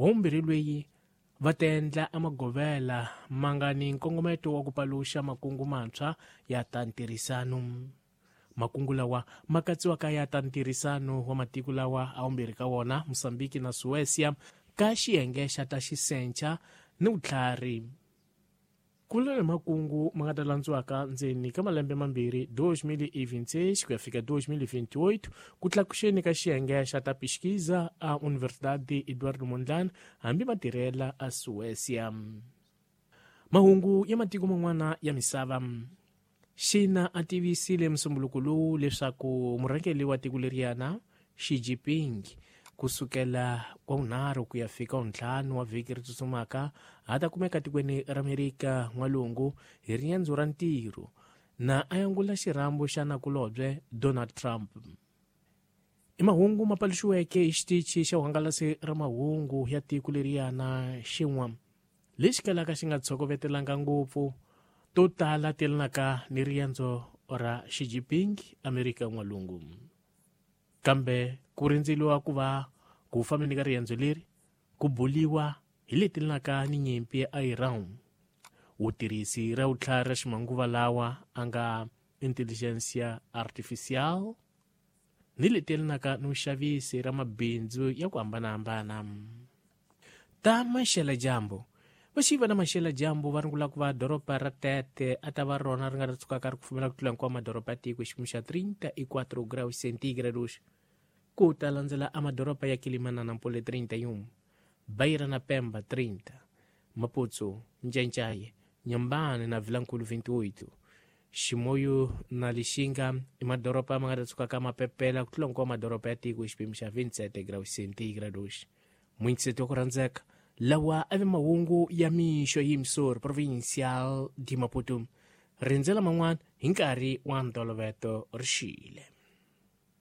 Wa vumbirhi lweyi va ta endla amagovela ma nga ni nkongometo wa ku paluxa makungu mantshwa ya ta ntirhisano. Makungu lawa ma katsiwaka ya ta ntirhisano wa matiko lawa a vumbirhi ka wona, Mosambiki na Suécia, ka xiyenge xa ta xisencha ni vutlhari. Ku vula ni makungu ma nga ta landziwaka ndzeni ka malembe mambirhi, 2026 ku ya fika 2028, ku tlakuxeni ka xiyenge xa ta pesquisa a Universidade Eduardo Mondlane hambi ma tirhela a Suécia. Mahungu ya matiko man'wana ya misava. Xina a tivisile musumbuluko lowu leswaku murhangeri wa tiko leriyana Xi Jinping ku sukela wa vunharhu ku ya fika wuntlhanu wa vhiki ri tsutsumaka a ta kumeka tikweni ra Amerika N'walungu hi riendzo ra ntirho na a yangula xirhambo xa nakulobye Donald Trump. I mahungu ma paluxiweke hi xitichi xa vuhangalasi ra mahungu ya tiko leriyana xin'wa lexi kalaka xi nga tshokovetelanga ngopfu to tala ti yelanaka ni riendzo ra Xi Jinping Amerika N'walungu. Kambe ku rindzeliwa ku va ku fambeni ka riendzo leri ku buliwa hi leti yelanaka ni nyimpi ya Iran, vutirhisi ra vutlhari ra ximanguva lawa a nga intelligentsia artificial ni leti yelanaka ni vuxavisi ra mabindzu ya ku hambanahambana. Ta maxela-dyambu. Vaxiva na maxela-dyambu va rungula ku va doroba ra Tete a ta va rona ri nga ta tsukaka ri kufumela ku tlula hinkwawo madoroba ya tiko hi xiyimo xa 34 graus centígrados. Ku ta landzela a madoroba ya Quelimana na Nampula 31, Beira na Pemba 30, Maputo, Ncaincaye, Inhambane na Vilankulu 28, Chimoio na Lixinga i madoroba ma nga ta tsukaka ma pepela ku tlula hinkwawo madoroba ya tiko hi xipimo xa 27 graus centígrados. Muintseti wa ku rhandzeka, lawa a ve mahungu ya mixo hi Missouri Provincial de Maputo. Rindzela man'wana hi nkarhi wa ntoloveto ri xile.